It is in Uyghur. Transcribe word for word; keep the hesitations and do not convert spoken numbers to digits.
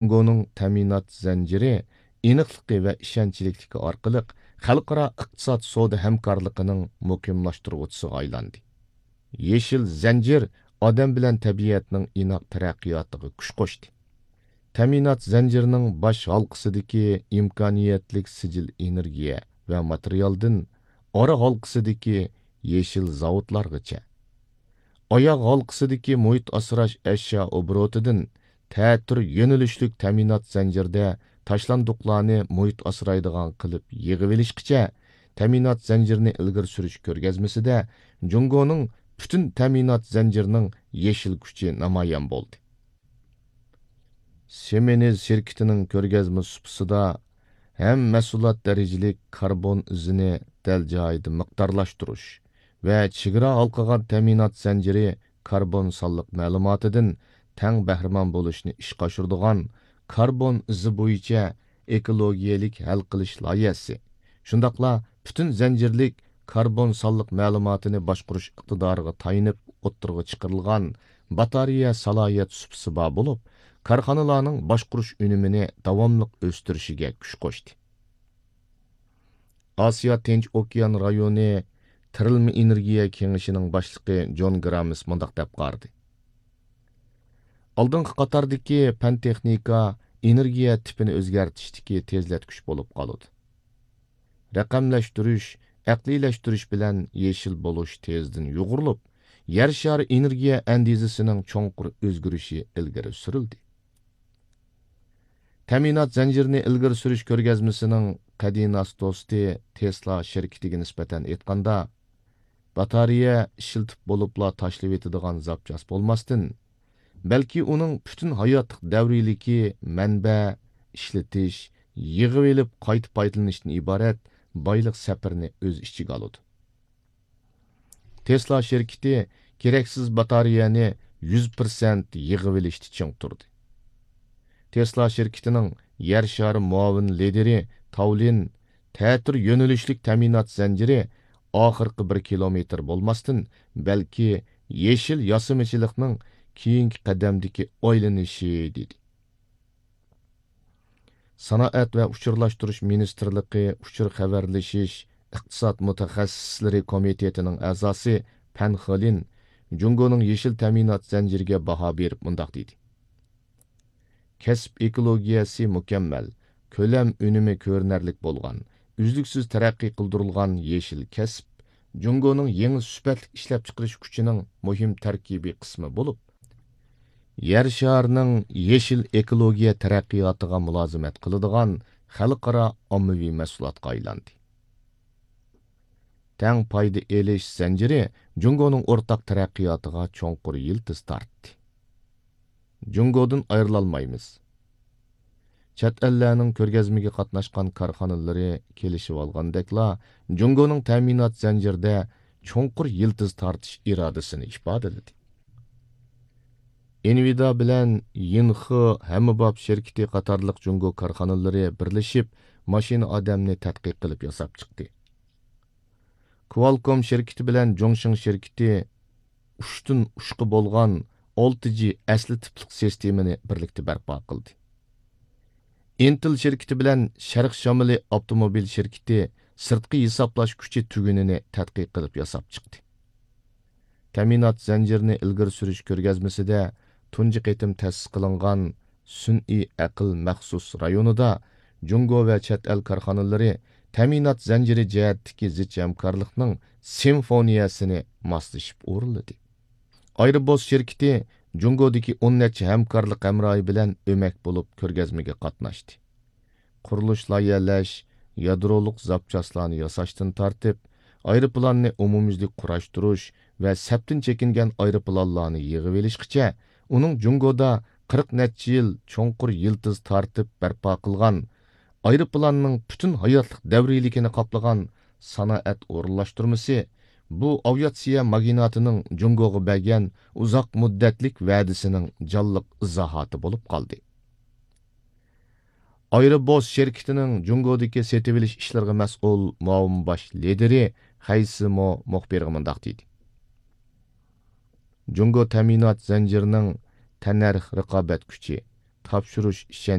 جۇڭگونىڭ تەمىنات زەنجىرى ئېنىقلىقى ۋە ئىشەنچلىكلىكى ئارقىلىق خەلقئارا ئىقتىساد سودا ھەمكارلىقىنىڭ مۇقىملاشتۇرغۇچىسىغا ئايلاندى. يېشىل زەنجىر ئادەم بىلەن تەبىئەتنىڭ ئىناق تەرەققىياتىغا كۈچ قوشتى. تەمىنات زەنجىرىنىڭ باش ھالقىسىدىكى ئىمكانىيەتلىك سىجىل ئېنېرگىيە ۋە ماتېرىيالدىن ئارا ھالقىسىدىكى يېشىل زاۋۇتلارغىچە، ئاياغ ھالقىسىدىكى مۇھىت ئاسراش ئەشيا ئوبوروتىدىن تەتۈر يۆنىلىشلىك تەمىنات زەنجىرىدە تاشلاندۇقلارنى مۇھىت ئاسرايدىغان قىلىپ يىغىۋېلىشقىچە، تەمىنات زەنجىرىنى ئىلگىرى سۈرۈش كۆرگەزمىسىدە جۇڭگونىڭ پۈتۈن تەمىنات زەنجىرىنىڭ يېشىل كۈچى نامايان بولدى. سىمېنز شىركىتىنىڭ كۆرگەزمە سۇپىسىدا ھەم مەھسۇلات دەرىجىلىك كاربون ئىزىنى دەل جايىدا مىقدارلاشتۇرۇش ۋە چېگرا ھالقىغان تەمىنات زەنجىرى كاربون سانلىق مەلۇماتىدىن تەڭ بەھرىمەن بولۇشنى ئىشقا ئاشۇرىدىغان كاربون ئىزى بويىچە ئېكولوگىيەلىك ھەل قىلىش لايىھەسى، شۇنداقلا پۈتۈن زەنجىرلىك كاربون سانلىق مەلۇماتىنى باشقۇرۇش ئىقتىدارىغا تايىنىپ ئوتتۇرىغا چىقىرىلغان باتارېيە سالاھىيەت سۇپىسى بار بولۇپ، كارخانىلارنىڭ باشقۇرۇش ئۈنۈمىنى داۋاملىق ئۆستۈرۈشىگە كۈچ قوشتى. ئاسىيا تىنچ ئوكيان رايونى تىرىلما ئېنېرگىيە كېڭىشىنىڭ باشلىقى جون گرامىس مۇنداق دەپ قارىدى: ئالدىنقى قاتاردىكى پەن تېخنىكا ئېنېرگىيە تىپىنى ئۆزگەرتىشتىكى تېزلەتكۈچ بولۇپ قالىدۇ. رەقەملەشتۈرۈش، ئەقلىيلەشتۈرۈش بىلەن يېشىل بولۇش تېزدىن يۇغۇرۇلۇپ، يەر شارى ئېنېرگىيە ئەندىزىسىنىڭ چوڭقۇر ئۆزگىرىشى ئىلگىرى سۈرۈلدى. تەمىنات زەنجىرىنى ئىلگىرى سۈرۈش كۆرگەزمىسىنىڭ قەدىناس دوستى تېسلا شىركىتىگە نىسبەتەن ئېيتقاندا، باتارېيە ئىشلىتىپ بولۇپلا تاشلىۋېتىدىغان زاپچاس بولماستىن، بەلكى ئۇنىڭ پۈتۈن ھاياتلىق دەۋرىيلىكى مەنبە، ئىشلىتىش، يىغىۋېلىپ قايتا پايدىلىنىشتىن ئىبارەت بايلىق سەپىرىنى ئۆز ئىچىگە ئالىدۇ. تېسلا شىركىتى كېرەكسىز باتارېيەنى يۈز پىرسەنت يىغىۋېلىشتا چىڭ تۇردى. تېسلا شىركىتىنىڭ يەر شارى مۇئاۋىن لىدىرى تاۋلىن تەتۈر يۆنىلىشلىك تەمىنات زەنجىرى ئاخىرقى بىر كىلومېتىر بولماستىن، بەلكى يېشىل ياسىمىچىلىقنىڭ كېيىنكى قەدەمدىكى ئايلىنىشى، دېدى. سانائەت ۋە ئۇچۇرلاشتۇرۇش مىنىستىرلىقى ئۇچۇر خەۋەرلىشىش ئىقتىساد مۇتەخەسسىسلىرى كومىتېتىنىڭ ئەزاسى پەن خېلىن جۇڭگونىڭ يېشىل تەمىنات زەنجىرىگە باھا بېرىپ مۇنداق دېدى: كەسىپ ئېكولوگىيەسى مۇكەممەل، كۆلەم ئۈنۈمى كۆرۈنەرلىك بولغان، ئۈزلۈكسىز تەرەققىي قىلدۇرۇلغان يېشىل كەسىپ جۇڭگونىڭ يېڭى سۈپەتلىك ئىشلەپچىقىرىش كۈچىنىڭ مۇھىم تەركىبىي قىسمى بولۇپ، يەر شارىنىڭ يېشىل ئېكولوگىيە تەرەققىياتىغا مۇلازىمەت قىلىدىغان خەلقئارا ئاممىۋى مەھسۇلاتقا ئايلاندى. تەڭ پايدا ئېلىش زەنجىرى جۇڭگونىڭ ئورتاق تەرەققىياتىغا چوڭقۇر يىلتىز تارتتى. جۇڭگودىن ئايرىلالمايمىز. چەت ئەللەرنىڭ كۆرگەزمىگە قاتناشقان كارخانىلىرى كېلىشىۋالغاندەكلا، جۇڭگونىڭ تەمىنات زەنجىرىدە چوڭقۇر يىلتىز تارتىش ئىرادىسىنى ئىپادىلىدى. ئىنۋىدا بىلەن يىنخې ھەممىباب شىركىتى قاتارلىق جۇڭگو كارخانىلىرى بىرلىشىپ، ماشىنا ئادەمنى تەتقىق قىلىپ ياساپ چىقتى. كۋالكوم شىركىتى بىلەن جۇڭشىڭ شىركىتى ئۇچتىن ئۇچقا بولغان ئالتە جى ئەسلى تىپلىق سىستېمىنى بىرلىكتە بەرپا قىلدى. ئىنتېل شىركىتى بىلەن شەرق شامىلى ئاپتوموبىل شىركىتى سىرتقى ھېسابلاش كۈچى تۈگۈنىنى تەتقىق قىلىپ ياساپ چىقتى. تەمىنات زەنجىرىنى ئىلگىرى سۈرۈش كۆرگەزمىسىدە تۇنجى قېتىم تەسىس قىلىنغان سۈنئىي ئەقىل مەخسۇس رايونىدا جۇڭگو ۋە چەت ئەل كارخانىلىرى تەمىنات زەنجىرى جەھەتتىكى زىچ ھەمكارلىقنىڭ سىمفونىيەسىنى ماسلىشىپ ئورۇنلىدى. ئايروبوس شىركىتى جۇڭگودىكى ئون نەچچە ھەمكارلىق ھەمراھى بىلەن ئۆمەك بولۇپ كۆرگەزمىگە قاتناشتى. قۇرۇلۇش لايىھەلەش، يادرولۇق زاپچاسلارنى ياساشتىن تارتىپ، ئايروپىلاننى ئومۇميۈزلۈك قۇراشتۇرۇش ۋە سەپتىن چېكىنگەن ئايروپىلانلارنى يىغىۋېلىشقىچە، ئۇنىڭ جۇڭگودا قىرىق نەچچە يىل چوڭقۇر يىلتىز تارتىپ بەرپا قىلغان، ئايروپىلاننىڭ پۈتۈن ھاياتلىق دەۋرىيلىكىنى قاپلىغان سانائەت ئورۇنلاشتۇرمىسى بۇ ئاۋىئاتسىيە ماگناتىنىڭ جۇڭگوغا بەرگەن ئۇزاق مۇددەتلىك ۋەدىسىنىڭ جانلىق ئىزاھاتى بولۇپ قالدى. ئايروبوس شىركىتىنىڭ جۇڭگودىكى سېتىۋېلىش ئىشلىرىغا مەسئۇل مۇئاۋىن باش لىدىرى خەي سىمو مۇخبىرغا مۇنداق دېدى: جۇڭگو تەمىنات زەنجىرىنىڭ تەننەرخ رىقابەت كۈچى، تاپشۇرۇش ئىشەنچى